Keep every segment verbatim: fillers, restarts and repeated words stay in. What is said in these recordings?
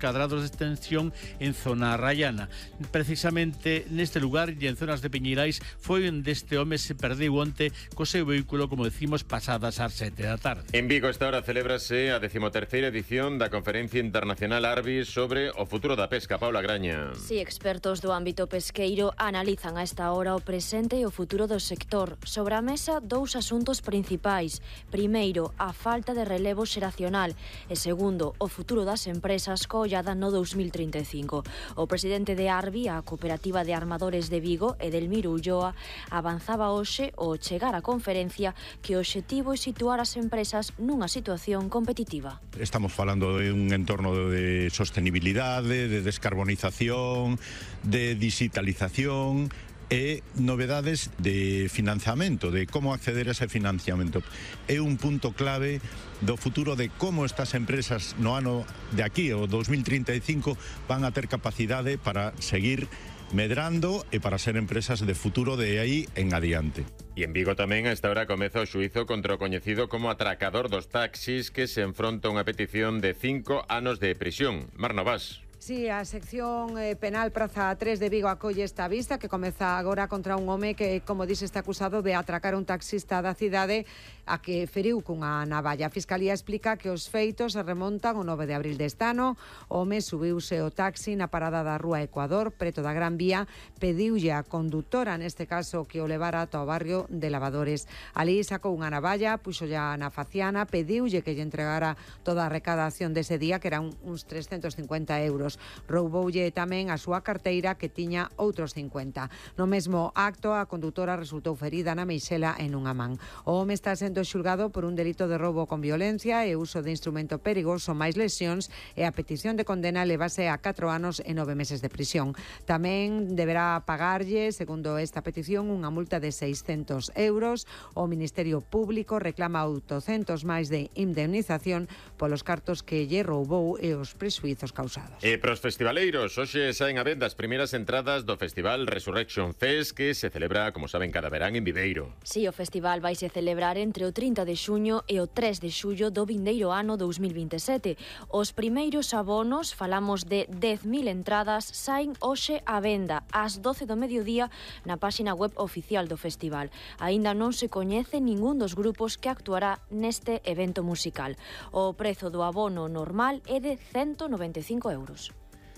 cadrados de extensión en zona rayana. Precisamente neste lugar e en zonas de Peñeirais foi onde este home se perdeu onte co seu vehículo, como decimos, pasadas as sete da tarde. En Vigo esta hora celébrase a decimoterceira edición da Conferencia Internacional Arbis sobre o futuro da pesca. Paula Graña. Si, expertos do ámbito pesqueiro analizan a esta hora o presente e o futuro do sector. Sobre a mesa, dous asuntos principais. Primeiro, a falta de relevo xeracional e segundo, o futuro das empresas co ollada no dous mil trinta e cinco. O presidente de Arbi, a Cooperativa de Armadores de Vigo, Edelmiro Ulloa, avanzaba hoxe ao chegar á conferencia que o obxectivo é situar as empresas nunha situación competitiva. Estamos falando de un entorno de sostenibilidade, de descarbonización, de digitalización e novedades de financiamento, de como acceder a ese financiamento. É un punto clave do futuro de como estas empresas no ano de aquí, o dous mil trinta e cinco, van a ter capacidade para seguir medrando e para ser empresas de futuro de aí en adiante. E en Vigo tamén a esta hora comeza o xuízo contra o coñecido como atracador dos taxis, que se enfronta a unha petición de cinco anos de prisión. Mar Novas. Sí, a sección eh, penal Praza tres de Vigo acolle esta vista que comeza agora contra un home que, como dice, está acusado de atracar un taxista da cidade a que feriu cunha navalla. A Fiscalía explica que os feitos se remontan o nove de abril deste ano. O home subiuse o taxi na parada da Rúa Ecuador, preto da Gran Vía, pediulle a condutora, neste caso, que o levara ata o barrio de Lavadores. Ali sacou unha navalla, puxolla na faciana, pediulle que lle entregara toda a recadación dese día, que eran uns trescentos cincuenta euros. Rouboulle tamén a súa carteira, que tiña outros cincuenta. No mesmo acto, a condutora resultou ferida na meixela e nunha man. O home está sendo xulgado por un delito de roubo con violencia e uso de instrumento perigoso máis lesións, e a petición de condena levase a catro anos e nove meses de prisión. Tamén deberá pagarlle, segundo esta petición, unha multa de seiscentos euros. O Ministerio Público reclama oitocentos máis de indemnización polos cartos que lle roubou e os prexuizos causados. E pros festivaleiros, hoxe saen a venda as primeiras entradas do Festival Resurrection Fest, que se celebra, como saben, cada verán en Viveiro. Si, o festival vai se celebrar entre o trinta de xuño e o tres de xullo do vindeiro ano dous mil vinte e sete. Os primeiros abonos, falamos de dez mil entradas, saen hoxe a venda ás doce do mediodía na páxina web oficial do festival. Aínda non se coñece ningún dos grupos que actuará neste evento musical. O prezo do abono normal é de ciento noventa e cinco euros.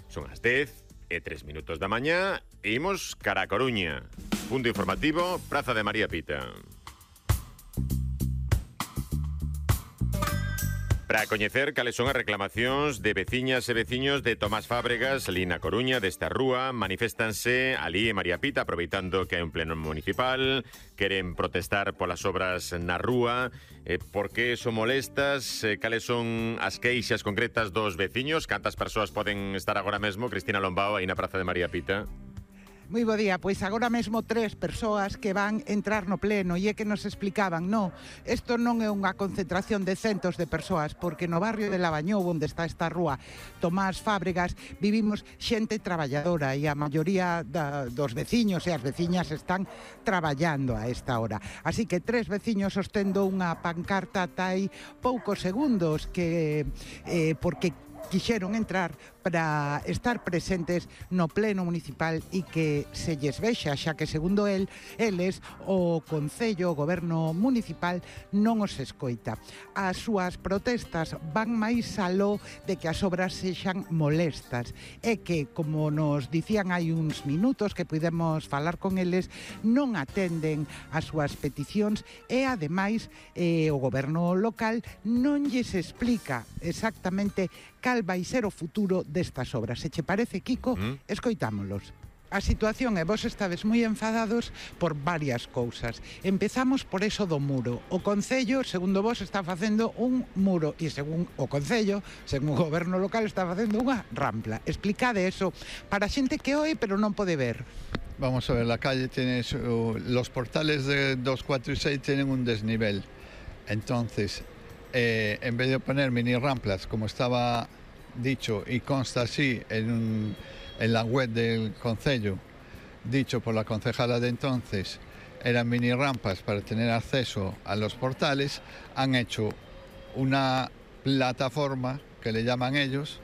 Son as dez e tres minutos da mañá e imos cara a Coruña. Punto informativo, Praza de María Pita. Para coñecer cales son as reclamacións de veciñas e veciños de Tomás Fábregas, ali na Coruña, desta rúa, maniféstanse ali en María Pita, aproveitando que hai un pleno municipal, queren protestar polas obras na rúa. Eh, por que son molestas? Eh, cales son as queixas concretas dos veciños? Cantas persoas poden estar agora mesmo, Cristina Lombao, aí na Praza de María Pita? Moi bo día, pois agora mesmo tres persoas que van entrar no pleno e é que nos explicaban, no, isto non é unha concentración de centos de persoas, porque no barrio de Lavañou, onde está esta rúa Tomás Fábregas, vivimos xente traballadora e a maioría da, dos veciños e as veciñas están traballando a esta hora. Así que tres veciños sostendo unha pancarta tai poucos segundos que eh, porque quixeron entrar para estar presentes no pleno municipal e que se lles vexa, xa que segundo el, eles, o Concello, o Goberno Municipal non os escoita. As súas protestas van máis aló de que as obras sexan molestas e que, como nos dicían hai uns minutos que pudemos falar con eles, non atenden as súas peticións e, ademais, eh, o Goberno local non lles explica exactamente cal vai ser o futuro destas obras. Se che parece, Kiko, mm. escoitámolos. A situación é, vos estades moi enfadados por varias cousas. Empezamos por eso do muro. O Concello, segundo vos, está facendo un muro e según o Concello, según o Goberno local, está facendo unha rampla. Explicade eso para xente que oe pero non pode ver. Vamos a ver, la calle tiene su, los portales de dos, cuatro y seis tienen un desnivel. Entonces, eh, en vez de poner mini ramplas, como estaba dicho y consta así en, un, en la web del Concello, dicho por la concejala de entonces, eran mini rampas para tener acceso a los portales, han hecho una plataforma que le llaman ellos,